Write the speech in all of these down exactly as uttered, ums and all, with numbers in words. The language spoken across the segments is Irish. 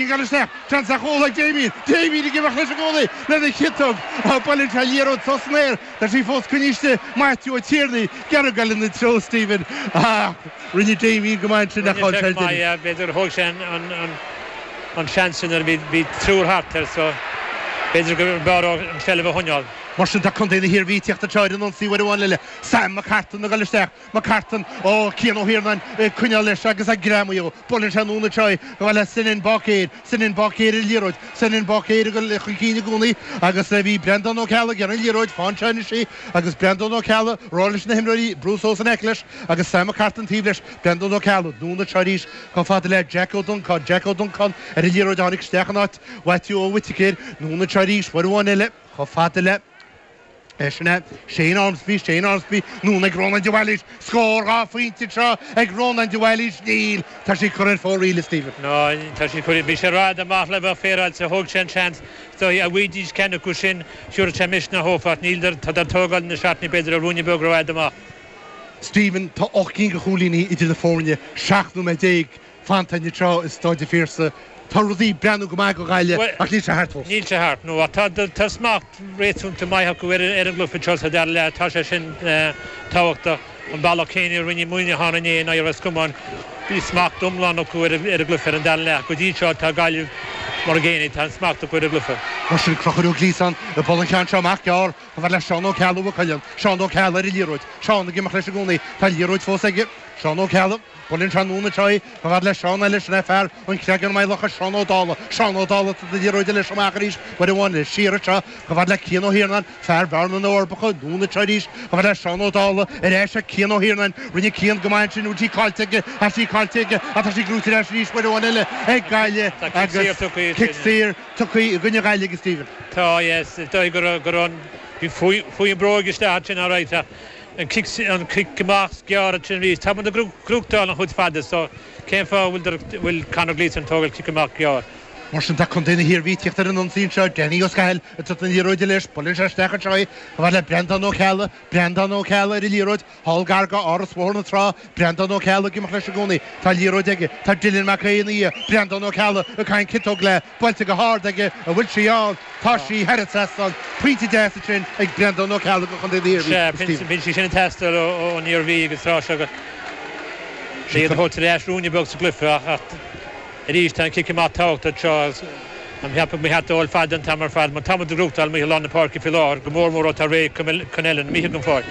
Gan isteach seans ar chúl ag Damien Damien ag imeacht leis i gcónaí lena chiotóg buaileann sé an liathróid suas san aer tá sí fós coinnithe Maitiú Ó Tiarnaigh gearradh ag dul ina treo Stephen ach rinne Damien go maith ansin ach chaill sé ar deireadh. B'fhéidir thóg sé an seans sin nuair a bhí triúr thart air so b'fhéidir go mb'fhearr dó an tseilbh a choinneáil. Mar sin tá contae na hIarmhí ag tíocht anseo ar an ionsaí uair amháin eile. Sam McCartan ag dul isteach. McCartan, ó Cian Ó hIarnáin ag coinneáil leis agus ag greamaí ó. Buaileann sé anonn anseo í chomh fada le Senan Báicéir. Senan Báicéir ar an liathróid. Senan Báicéir ag dul chun cinn i gcónaí agus bhí Breandán Ó Ceallaigh ar an liathróid. Fán seo anois í agus Breandán Ó Ceallaigh ag rá leis na himreoirí brú suas in aice leis agus Sam McCartan taobh leis. Breandán Ó Ceallaigh anonn anseo arís chomh fada le Jack Ó Donnchadha. Jack Ó Donnchadha ar an liathróid a tháinig isteach in áit Mhaitiú Ó Whitaker. Anonn anseo arís uair amháin eile chomh fada le. Sin é Shane Ormsby, Shane Ormsby, anonn ag Rónán de Bhailís, scór dhá phointe anseo ag Rónán de Bhailís, níl, tá sí curtha ar fóraoil, a Stephen. No, tá sí curtha, bhí sé rada amach le bheith féaráilte, thóg sé an seans, dá bhfaighidís ceann acu sin, thiúrfadh sé misneach dhófa ach níl, tá tógáil na seachtaine b'fhéidir a ruainne beag rófhada amach. Stephen, tá ocht gcinn de chúilíní idir na foirne, seacht nóiméad déag fanta anseo i Staid an Phiarsaigh. Tá rudaí ag breathnú go maith do Ghaillimh ach níl sé thart fós. Níl sé thart, no. Ach tá smacht réasúnta maith acu ar an gcluiche seo sa dara leath. Tá sé sin tábhachtach. An bealach céanna a rinne Muineachán inné in aghaidh Ros Comáin, bhí smacht iomlán acu ar an gcluiche ar an dara leath. Go dtí seo tá Gaillimh mar an gcéanna, tá an smacht acu ar an gcluiche. Mar sin, Conchúr Ó Gliasáin ag bualadh an ceann seo amach gearr chomh fada le Seán Ó Ceallaigh Mhaigh Cuilinn. Seán Ó Ceallaigh ar an liathróid. Seán ag imeacht leis i gcónaí. Tá an liathróid fós aige. Seán Ó Ceallaigh. Buaileann sé anonn anseo í chomh fada le Seán eile, sin é fear an Chreagáin Maigh Locha, Seán Ó Dálaigh, Seán Ó Dálaigh ag tabhairt an liathróid leis amach arís, uair amháin eile, siar anseo chomh fada le Cian Ó hIarnáin, fear Bhearna na bhForbacha, anonn anseo arís chomh fada le Seán Ó Dálaigh, ar ais ag Cian Ó hIarnáin, rinne Cian go maith ansin, bhfuil sí caillte aige, tá sí caillte aige, ach tá sí gnóite ar ais arís uair amháin eile ag Gaillimh agus cic saor tugtha i gcoinne Ghaillimh ag Stephen. Tá, yes, is dóigh go raibh, go raibh an, bhí, chuaigh an bróg isteach ansin alright ach An cic amach gearr ansin arís. Tá muid ag gnóthachtáil an chuid fada so cén fáth a bhfuil bhfuil Conor Gleeson ag tógáil cic amach gearr? Mar sin tá contae na hIarmhí ag tíocht ar an ionsaí anseo. Danny Ó Scathail ag tabhairt na liathróide leis. Buaileann sé isteach anseo í chomh fada le Breandán Ó Ceallaigh. Breandán Ó Ceallaigh ar an liathróid. Thall gar go Áras Bhóthar na Trá. Breandán Ó Ceallaigh ag imeacht leis i gcónaí. Tá an liathróid aige. Tá Dylan Mac Aodha ina dhiaidh. Breandán Ó Ceallaigh ag caint ciotóg léi. Buailte go hard aige. An bhfuil sí ann? Tá sí thar an trasnán. Pointe deas ansin ag Breandán Ó Ceallaigh do chontae na hIarmhí. Sea, bíonn sí sin ag teastáil ón Iarmhí agus tráth seo go iad a thabhairt ar ais ruainne beag sa gcluiche ach arís tá an cic amach tábhachtach anseo agus an cheapadh mba cheart dul fada an t-am ar fad mar tá muid ag gnóthachtáil amuigh i lár na páirce faoi láthair, go mór mór ó tá Ray Connellan imithe den pháirc.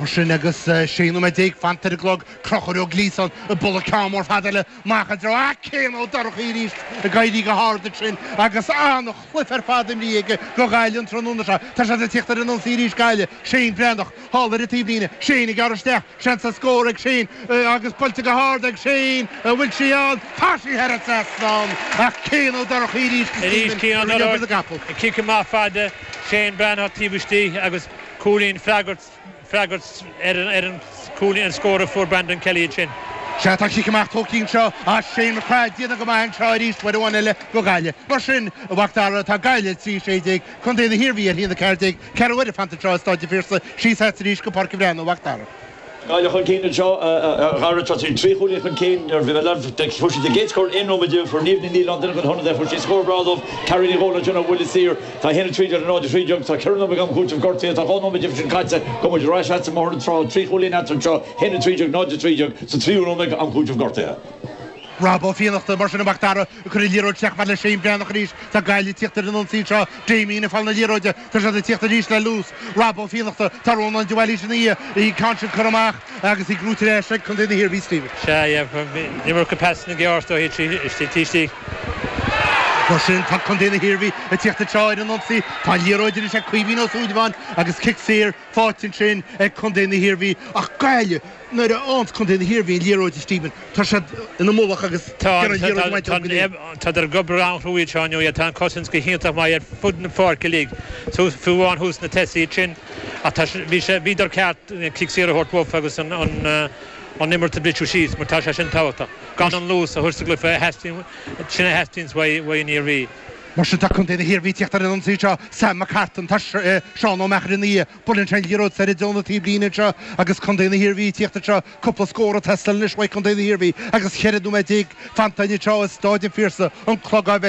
Mar sin agus sé nóiméad déag fanta ar an gclog, Conchúr Ó Gliasáin ag bualadh ceann mór fada eile amach i dtreo ah Cian Ó Dorchaí arís ag éirí go hard ansin agus an-chluiche ar fad imrithe aige do Ghaillimh an tráthnóna seo. Tá siad ag tíocht ar an ionsaí arís Gaillimh. Shane Breathnach thall ar an taobhlíne. Shane ag gearradh isteach. Seans ar scór ag Shane agus buailte go hard ag Shane. An bhfuil sí ann? Tá sí thar an trasnán ach Cian Ó Dorchaí arís Arís Cian Ó Dorchaí. An cic amach fada. Shane Breathnach taobh istigh agus cúilín freagairt. freagairt ar an chúilín, an scór a fuair Brandon Kelly ansin. Sea, tá cic amach tógtha anseo as Shane McGrath, déanamh go maith anseo arís, uair amháin eile do Ghaillimh. Mar sin, a Mhac Dara, tá Gaillimh ar trí sé déag, Contae na hIarmhí ar haon a ceathair déag, ceathrú uaire fanta anseo i Stáid an Phiarsaigh, síos agat arís go Páirc an Bhreathnaigh, a Mhac Dara. Gaillimh chun cinn anseo, a Dhara. Tá siad trí chúilín chun cinn. Nuair a bhí mé leamh, fuair siad a gcéad scór aon nóiméad déag, fuair Niamh Ní Nialláin, duine den hionadaithe, fuair sí scór breá dóibh. Carrie Ní Dhomhnaill ansin ó bhuille saor. Tá a haon a trí déag le náid a trí déag. Tá ceithre nóiméad d'am cúitimh gortaithe. Tá dhá nóiméad díobh sin caite. Gabhfaidh muid ar ais agat i mBóthar na Trá. Trí chúilín eatarthu anseo, a haon a trí déag, náid a trí déag, sa tríú nóiméad am cúitimh gortaithe. Rob Ó Fiannachta, mar sin, a Mhac Dara, ag cur an liathróid isteach chomh fada le Shane Breathnach arís. Tá Gaillimh ag tíocht ar an ionsaí anseo. Damien ag fáil na liathróide. Tá siad ag tíocht arís le luas. Rob Ó Fiannachta, tá Rónán de Bhailís ina dhiaidh. An ceann sin curtha amach agus í gnóite ar ais ag contae na hIarmhí, Stephen. Sea, yeah, iomarca pasanna gearr is dóiche istigh istigh. Mar sin, tá contae na hIarmhí ag tíocht anseo ar an ionsaí. Tá an liathróid anois ag Caoimhín Ó Súilleabháin agus cic saor faighte ansin ag contae na hIarmhí. Ach Gaillimh, nuair a fhaigheanns contae na hIarmhí an liathróid, a Stephen, tá siad ina mullach agus gearrann an liathróid uait go léir. Tádar ag obair an-chruaidh anseo inniu. Tá an cosaint go hiontach maith ar fud na páirce uilig, fiú amháin thuas na tosaithe ansin. Ach tá, bhí sé, bhíodar ceart cic saor a thabhairt uafa agus an, an, an imirt a bhriseadh síos mar tá sé sin tábhachtach. Gan an luas a thabhairt sa gcluiche a theastaíonn, sin a theastaíonns uaidh an Iarmhí. Mar sin tá Contae na hIarmhí ag teacht ar an ionsaí seo Sam McCartan tá Seán Ó Meachair ina dhiaidh buaileann sé an liathróid soir i dtreo na taobhlíne anseo agus Contae na hIarmhí ag teacht anseo cúpla scór ag teastáil anois uaidh Contae na hIarmhí agus ceithre nóiméad déag fanta anseo i Stáid an Phiarsaigh an clog á mheilt.